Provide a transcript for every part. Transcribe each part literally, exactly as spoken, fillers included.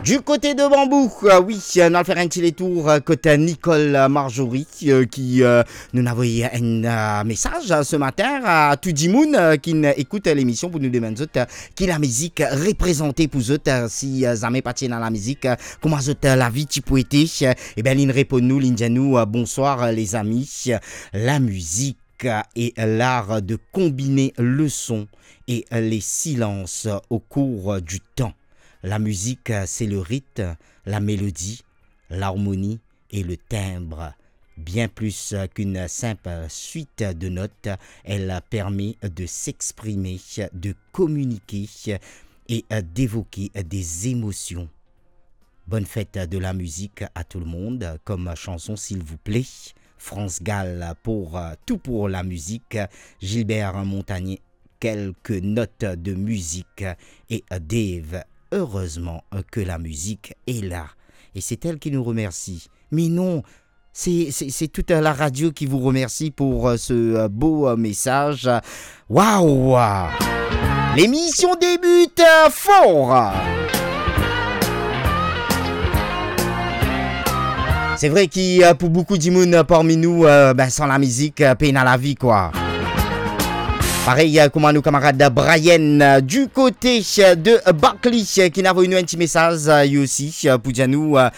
Du côté de Bambou, euh, wi, euh, nou al fer enn ti letour, euh, kot Nicole, euh, Marjorie, euh, ki, euh, nou avoy enn, euh, mesaz, euh, ce matin a tou dimoun, euh, ki n ekout, euh, lemision pou nou demann zot, euh, ki lamizik reprezante pou zot, euh, si, euh, zame pa ti ena lamizik, euh, kouma zot, euh, lavi ti pou ete, euh, e ben, li'nn reponn nou, li'nn dir nou, euh, bonswar, euh, lezami, euh, la musique est l'art de combiner le son et les silences au cours du temps. La musique, c'est le rythme, la mélodie, l'harmonie et le timbre. Bien plus qu'une simple suite de notes, elle permet de s'exprimer, de communiquer et d'évoquer des émotions. Bonne fête de la musique à tout le monde. Comme chanson, s'il vous plaît, France Gall pour, euh, Tout pour la musique, Gilbert Montagné, quelques notes de musique et, euh, Dave, heureusement, euh, que la musique est là. Et c'est elle qui nous remercie. Mais non, c'est, c'est, c'est toute la radio qui vous remercie pour, euh, ce, euh, beau, euh, message. Waouh! L'émission débute, euh, fort! Se vre ki, euh, pou boukou dimoun, euh, parmi nou, euh, ben, san lamizik, euh, pena lavi, kwa. Parey, euh, kouma nou kamarad Brian, euh, du côté, euh, de Barclay, euh, ki inn avoy nou enn ti mesaz, euh, li osi, euh, pou dir nou, euh,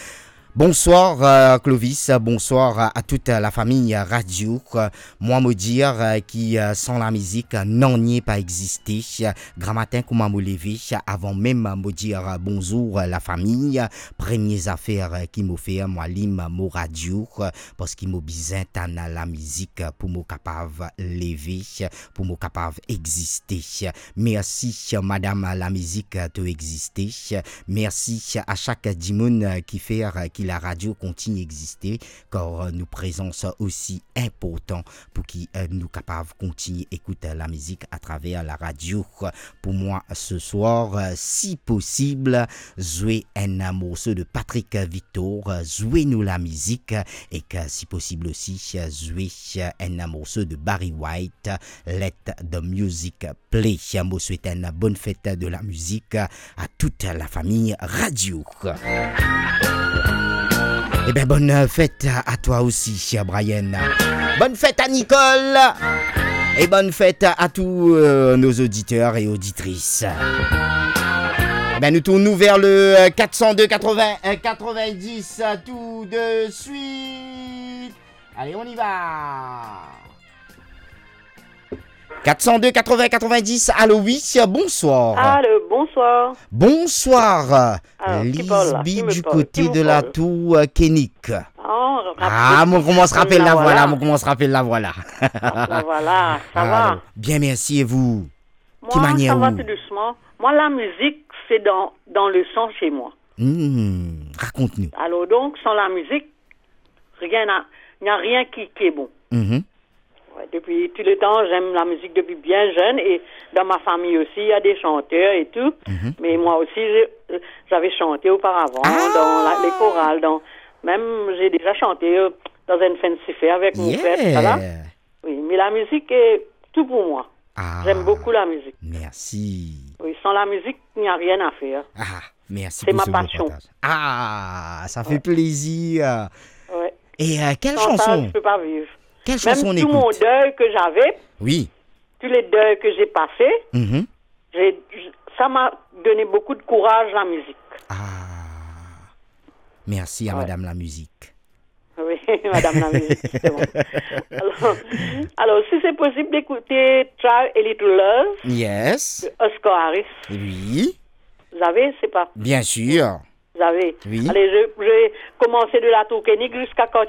bonswar, euh, Clovis, bonswar, euh, a tout, euh, lafami, euh, radio. Euh, mwa, mo dir, euh, ki, euh, san lamizik, euh, nanye pa existe. Euh, gramatin, kouma mo leve, euh, avan mem, euh, mo dir, euh, bonzour, euh, lafami, euh, premie zafer, euh, ki mo fer, euh, mo alim, euh, mo radio, euh, parski mo bizin tann lamizik, euh, pou mo kapav leve, euh, pou mo kapav existe. Mersi, madam lamizik, to existe. Mersi a sak dimoun ki fer ki laradio kontign existe, kar nou prezans osi inportan pou ki, eh, nou kapav kontign ekout lamizik atraver laradio. Pou mwa, se swar, si posib, zwe enn morso de Patrick Victor, zwe nou lamizik, ek, si posib osi, zwe enn morso de Barry White, Let the Music Play. Mo swet enn bonn fet de lamizik a tout lafami radio. Eben, bonn fet a twa osi, Brian. Bonn fet a Nicole. E bonn fet a tou, eh, nos auditeurs et auditrices. Eben, nou tourn nou ver le, eh, quatre cent deux quatre-vingts, eh, quatre-vingt-dix, eh, tout de suite. Allez, on y va. Quatre cent deux quatre-vingts quatre-vingt-dix, allô, oui, bonsoir. Allô, bonsoir. Bonsoir. Alors, qui parle là ? Lisby, qui me parle ? Qui me parle ? Du côté de la Tour, euh, Kenick. Ah, mo koumans rapel lavwa la, mo koumans rapel lavwa la. Ah, voilà, ça va ? Alors, bien, merci, et vous ? Moi, ça va tout doucement. Moi, la musique, c'est dans, dans le sang chez moi. Hmm, rakont nou. Alors donc, sans la musique, rien n'a, il n'y a rien qui, qui est bon. Mhm. Ouais, depuis tout le temps, j'aime la musique depuis bien jeune et dans ma famille aussi, il y a des chanteurs et tout. Mhm. Mais moi aussi, je, j'avais chanté auparavant dans la, les chorales, dans, même j'ai déjà chanté, euh, dans une fancy fair avec mon frère, tout ça là. Yeah. Oui, mais la musique est tout pour moi. Ah. J'aime beaucoup la musique. Merci. Oui, sans la musique, il n'y a rien à faire. Ah, merci pour ce beau partage. C'est ma passion. Ah, ça fait plaisir. Ouais. Et, euh, quelle chanson ? Sans ça, je peux pas vivre. Quelle chanson on écoute ? Même tout mon deuil que j'avais, oui, tous les deuils que j'ai passés, mhm, j'ai, ça m'a donné beaucoup de courage, la musique. Ah. Merci à Madame la musique. Oui, Madame la musique, justement. Alors, alors, si c'est possible d'écouter Try a Little Love, yes, de Oscar Harris. Oui. Vous avez, c'est pas... Bien sûr. Vous avez. Oui. Allez, je, je vais commencer de la Tour Kenick jusqu'à Quartier